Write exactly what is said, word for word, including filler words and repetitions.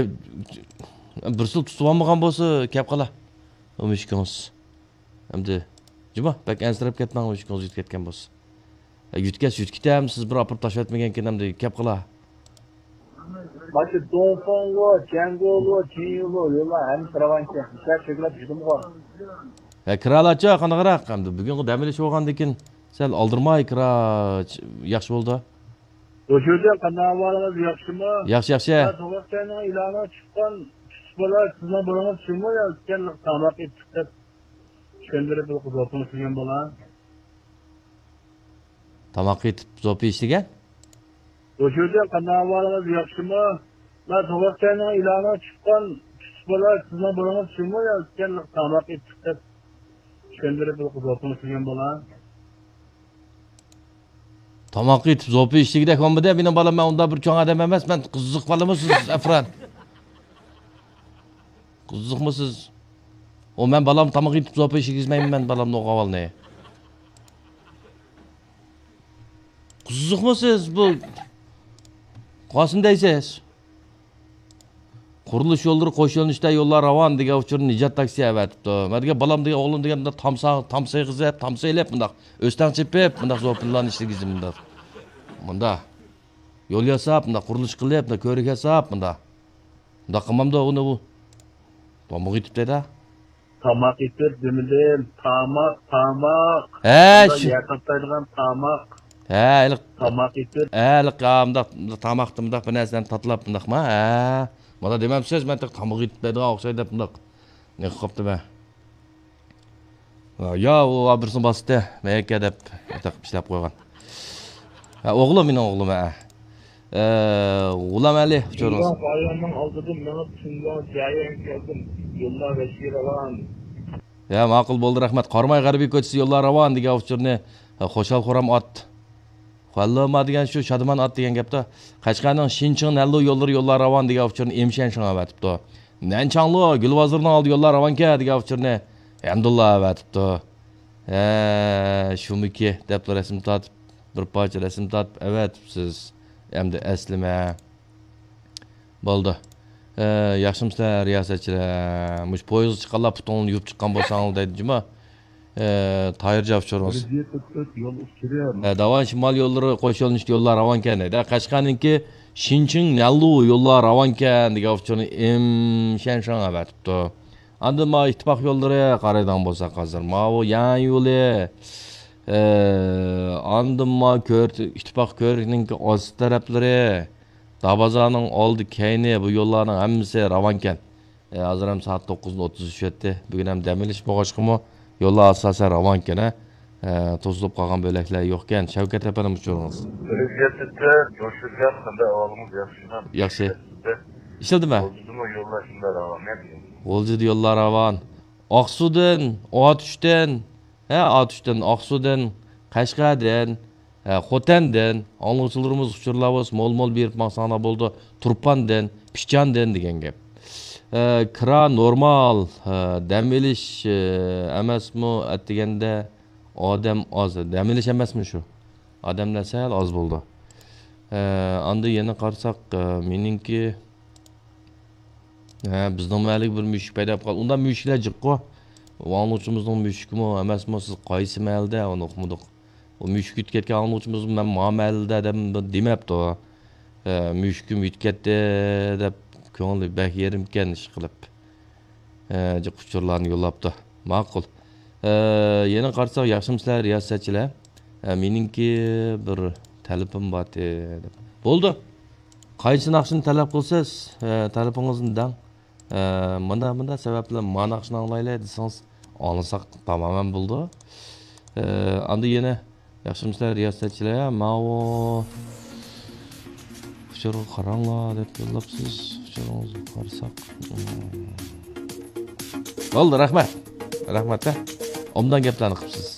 بىرسىلا تۇتۇۋالمىغان بولسا، كەپ قالا. ئۇ مۈشۈكىڭىز. ئەمدى، جۇما، بەك ئەنسىرەپ كەتمەڭ، مۈشۈكىڭىز يۈتۈپ كەتكەن بولسا. يۈتكەس يۈتكىتەم، سىز بىر ئاپىرىپ تاشلىۋەتمىگەنكىن، ئەمدى كەپ قالا. ماشۇ دونفاڭغۇ، جياڭگولۇ، جىنيۇلۇ يوللار ھەممىسى راۋانكەن. ئىشلار چۆكلەپ چۈشتىمغۇ. ھە، كىرالارچۇ، قانداقراق؟ ئەمدى بۈگۈنقى دەم ئېلىش بولغاندىكىن سەل ئالدىرىماي كىرا، ياخشى بولدى. بۇ يەردە قانداق ئەھۋالىڭىز، ياخشىمۇ؟ ياخشى، ياخشى. ھە، توغرىسىنىڭ ئېلانىغا چىققان كىچىك بالا سىزنىڭ بالىڭىز شۇمۇ يا ئىكەن تاماق ئېتىپ دەپ چۈشەندۈرۈپ بىر قىزغا تونۇشتۇرغان بالا. تاماق ئېتىپ زوپا ئىشلىگەن؟ بۇ يەردە قانداق ئەھۋالىڭىز، ياخشىمۇ؟ مەن توغرىسىنىڭ ئېلانىغا چىققان كىچىك بالا سىزنىڭ بالىڭىز شۇمۇ يا ئىكەن تاماق ئېتىپ دەپ چۈشەندۈرۈپ بىر قىزغا تونۇشتۇرغان بالا. تاماق ئېتىپ زوپا ئىشلىگۈدەك بولمىدى. مېنىڭ بالام، مەن ئۇنداق بىر چوڭ ئادەم ئەمەس. مەن قىزىق بالىمۇ سىز، ئەفران؟ قىزىقمۇ سىز؟ ئۇ مەن بالام تاماق ئېتىپ زوپا ئىشلىگۈزمەيمەن مەن بالامنى، ئوغۇل بالىنى. قىزىقمۇ سىز بۇ؟ قاسىم دەيسىز. قۇرۇلۇش يوللىرى قوش يۆنىلىشتە يوللار راۋان دېگەن ئۇچۇرنى نىجات تاكسى ئەۋەتىپتۇ. مەن دېگەن بالام دېگەن ئوغلۇم دېگەن مۇنداق تامسا، تامسا يېغىزىپ، تامسا ئېلىپ، مۇنداق ئۆستەڭ چېپىپ، مۇنداق زوپىنلارنى ئىشلىگۈزى مۇنداق. مۇنداق. يول ياساپ، مۇنداق قۇرۇلۇش قىلىپ، مۇنداق كۆۋرۈك ياساپ، مۇنداق. مۇنداق قىلمامدۇ ئۇنى ئۇ؟ تاماق ئېتىپ دەيدۇ. تاماق ئېتىپ دېمىدىم. تاماق، تاماق. ھە، مۇنداق شۇ. يەر تاتلايدىغان تاماق. ھە، ھېلىق. تاماق ئېتىپ. ھە، ھېلىق، ھا، مۇنداق، مۇنداق تاماقتا مۇنداق بىر نەرسىلەرنى تاتلاپ مۇنداقما؟ ھە. مانا دېمەمسىز، مەن تېخى تاماق ئېتىپ دەيدىغان ئوخشايدۇ دەپ مۇنداق. نېمە قىلىپ قاپتىمەن؟ يا، ئۇ بىرسىنى باستى، مەيەكە دەپ ئىشلەپ قويغان. ھە، ئوغلۇم، مېنىڭ ئوغلۇم، ھە. ئە، غۇلام ئەلى، ئۇچۇرىڭىز. باياننىڭ ئالدىدىن مېڭىپ، تۈنلا جەريان كەلدىم. يوللار ۋەھشىي راۋان. يا، ماقۇل بولدى، رەھمەت. قاراماي غەربىي كوچىسى يوللار راۋان دېگەن ئۇچۇرنى، ھە، خۇشال خورام ئات. خۇەنلېما دېگەن شۇ شادىمان ئات دېگەن گەپتە. قەشقەرنىڭ شىنچىڭ نەنلۇ يوللىرى يوللار راۋان دېگەن ئۇچۇرنى ئېمشەن شاڭ ئەۋەتىپتۇ. نەنچاڭلۇ گۈل بازىرىنىڭ ئالدى يوللار راۋانكەن دېگەن ئۇچۇرنى ھەمدۇللا ئەۋەتىپتۇ. ھە، شۇمىكى دەپلا رەسىم تارتىپ، بىر پارچە رەسىم تارتىپ ئەۋەتىپسىز. ئەمدى ئەسلىمە. بولدى. ئە، ياخشىمۇسىلەر، رىياسەتچىلەر؟ مۇشۇ پويىزغا چىققانلار پۇتۇڭلارنى يۇيۇپ چىققان بولساڭلار دەيدۇ جۇما. ئە، تايىر جاپشۇرىمىز. بىر يېتىپ تۆت يول ئۈستىدە. ئە، داۋان شىمال يوللىرى قوش يۆنىلىشتە يوللار راۋانكەن دەيدۇ. قەشقەرنىڭكى شىنچىڭ نەنلۇ يوللار راۋانكەن دېگەن ئۇچۇرنى ئېمشەن شاڭ ئەۋەتىپتۇ. ئاندىن مانا ئىتتىپاق يوللىرى قارايدىغان بولساق ھازىر. ماۋۇ يەنى يولى. ئە، ئاندىن مانا كۆر-، ئىتتىپاق كۆۋرۈكنىڭكى ئاستى تەرەپلىرى. دابازارنىڭ ئالدى كەينى بۇ يوللارنىڭ ھەممىسى راۋانكەن. ئە، ھازىر ھەم سائەت توققۇزنى ئوتتۇز ئۈچ ئۆتتى. بۈگۈن ھەم دەم ئېلىش بولغاچقىمۇ يوللار ئاساسەن راۋانكەن، ھە. ئە، توسۇلۇپ قالغان بۆلەكلەر يوقكەن. شەۋكەت ئەپەندىم، ئۇچۇرىڭىز. بىر يەتتە تۆت، جوشۇرجان، قانداق ئەھۋالىڭىز، ياخشىمۇ؟ ياخشى. ئىشلىدىمۇ؟ غۇلجىدىمۇ يوللار شۇنداق راۋان، ھە؟ غۇلجىدا يوللار راۋان. ئاقسۇدىن، ئاتۇشتىن، ھە، ئاتۇشتىن، ئاقسۇدىن، قەشقەردىن، ھە، خوتەندىن، ئاڭلىغۇچىلىرىمىز ئۇچۇرلار بولسا مول-مول بېرىپ ماڭساڭلار بولىدۇ. تۇرپاندىن، پىچاندىن دېگەن گەپ. ھە، كىرا نورمال، ھە، دەم ئېلىش، ھە، ئەمەسمۇ ئەتىگەندە ئادەم ئاز. دەم ئېلىش ئەمەسمۇ شۇ؟ ئادەملەر سەل ئاز بولىدۇ. ھە، ئاندىن يەنە قارىساق، ھە، مېنىڭكى ھە، بىزنىڭ مەھەللىگە بىر مۈشۈك پەيدا بولۇپ قالدى. ئۇنداق مۈشۈكلەر جىققۇ. ئاڭلىغۇچىمىزنىڭ مۈشۈكىمۇ ئەمەسمۇ، سىز قايسى مەھەللىدە، ئۇنى ئۇقمىدۇق. ئۇ مۈشۈك يۈتۈپ كەتكەن ئاڭلىغۇچىمىز مەن ما مەھەللىدە دەپ دېمەپتۇ. ھە، مۈشۈكۈم يۈتۈپ كەتتى دەپ كۆڭلى بەك يېرىمكەن ئىشقىلىپ. ھە، جىق ئۇچۇرلارنى يوللاپتۇ. ماقۇل. ھە، يەنە قارىساق، ياخشىمۇسىلەر رىياسەتچىلەر؟ ھە، مېنىڭكى بىر تەلىپىم بارتى دەپ. بولدى. قايسى ناخشىنى تەلەپ قىلسىز، ھە، تەلىپىڭىزنى دەڭ. ھە، مۇنداق، مۇنداق سەۋەبلەر ما ناخشىنى ئاڭلايلى دېسىڭىز، ئاڭلىساق تامامەن بولىدۇ. ھە، ئاندىن يەنە ياخشىمۇسىلەر رىياسەتچىلەر؟ ماۋۇ ئۇچۇرغا قاراڭلار دەپ يوللاپسىز. ئۇچۇرىڭىزغا قارىساق. بولدى، رەھمەت. رەھمەت، ھە. ئوبدان گەپلەرنى قىپسىز.